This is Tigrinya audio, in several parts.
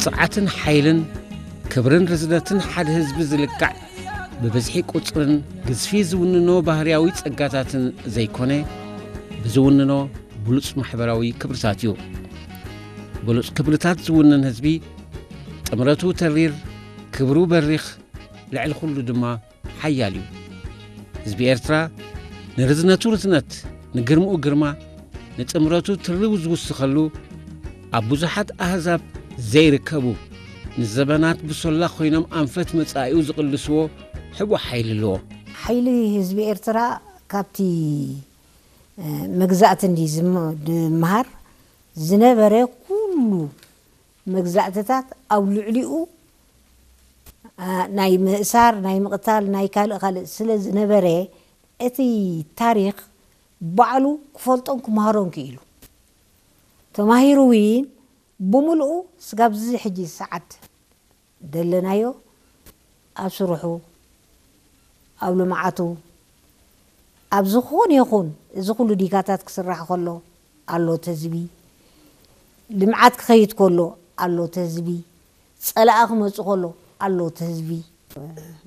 ብቕዓትን ሓይልን ክብርን ርዝነትን ሓደ ህዝቢ ዝልካዕ ብብዝሒ ቁጽርን ግዝፊ ዝውንኖ ባህርያዊ ጸጋታትን ዘይኮነ፣ ብዝውንኖ ብሉጽ ማሕበራዊ ክብርታት እዩ። ብሉጽ ክብርታት ዝውንን ህዝቢ ጥምረቱ ተሪር፣ ክብሩ በሪኽ፣ ልዕሊ ኩሉ ድማ ሓያል እዩ። ህዝቢ ኤርትራ ንርዝነቱ ርዝነት፣ ንግርምኡ ግርማ፣ ንጥምረቱ ትርው ዝውስኸሉ ኣብ ብዙሓት ኣህዛብ ዘይርከቡ ንዘበናት ብሶላ ኮይኖም ኣንፈት መጻኢኡ ዝቕልስዎ ሕቡእ ሓይሊ ኣለዎ። ሓይሊ ህዝቢ ኤርትራ ካብቲ መግዛእቲ እንዲ ዝምሃር ዝነበረ ኩሉ መግዛእትታት ኣብ ልዕሊኡ ናይ ምእሳር ናይ ምቕታል ናይ ካልእ ካልእ ስለ ዝነበረ እቲ ታሪኽ ባዕሉ ክፈልጦን ክመሃሮን ክኢሉ ተማሂሩ እውን ብምልኡ ስጋብ ዝዚ ሕጂ ሰዓት ደለናዮ ኣብ ስርሑ ኣብ ልምዓቱ ኣብ ዝኾነ ይኹን እዚ ኩሉ ዲጋታት ክስራሕ ከሎ ኣሎ ተዝቢ ልምዓት ክኸይድ ከሎ ኣሎ ተዝቢ ጸላኣ ክመጽእ ከሎ ኣሎ ተዝቢ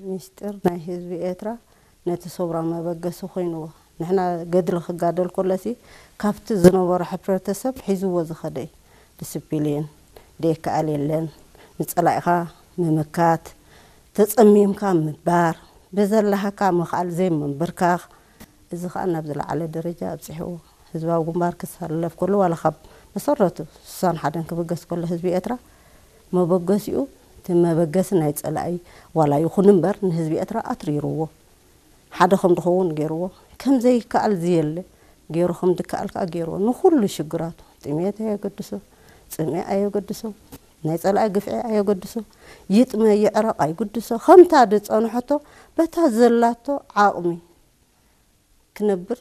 ሚስጢር ናይ ህዝቢ ኤርትራ ነቲ ሰውራ መበገሲ ኮይንዎ። ንሕና ገድሊ ክጋደል ከሎሲ ካብቲ ዝነበሮ ሕብረተሰብ ሒዝዎ ዝኸደ እዩ። ዲስፕሊን ደይከኣል የለን። ንጸላኢኻ ምምካት፣ ተጸሚምካ ምባር፣ ብዘላሃካ ምኽኣል ዘይምንብርካኽ፣ እዚ ኸኣ ናብ ዝለዓለ ደረጃ ኣብጺሕዎ። ህዝባዊ ግንባር ክሳለፍ ከሎ ዋላ ካብ መሰረቱ ስሳን ሓደን ክብገስ ከሎ ህዝቢ ኤርትራ መበገሲኡ እቲ መበገሲ ናይ ጸላኢ ዋላ ይኹን እምበር ንህዝቢ ኤርትራ ኣትሪርዎ ሓደ ከም ድኸውን ገይርዎ ከም ዘይከኣል ዝየለ ገይሩ ከም ድከኣል ከኣ ገይርዎ ንኹሉ ሽግራቱ ጥሜት ኣየገድሶ ጽምኢ ኣየገድሶ ናይ ጸላኢ ግፍዒ ኣየገድሶ ይጥመ ይዕረቕ ኣይግድሶ ከምታ ድጸንሐቶ በታ ዘላቶ ዓቕሚ ክነብር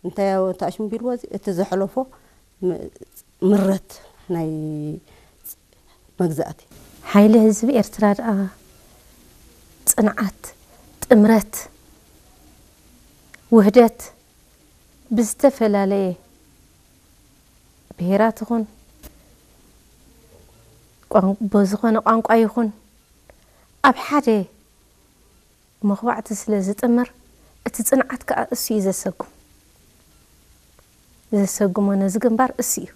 እንታይ ተኣሽምቢልዎ እዚ እቲ ዘሕለፎ ምረት ናይ መግዛእቲ። ሓይሊ ህዝቢ ኤርትራ ደኣ ጽንዓት፣ ጥምረት፣ ውህደት ብዝተፈላለየ ብሄራት ይኹን ብዝኾነ ቋንቋ ይኹን ኣብ ሓደ መኽባዕቲ ስለ ዝጥምር እቲ ጽንዓት ከኣ እሱ እዩ ዘሰጉም። ዘሰጉሞ ነዚ ግንባር እሱ እዩ።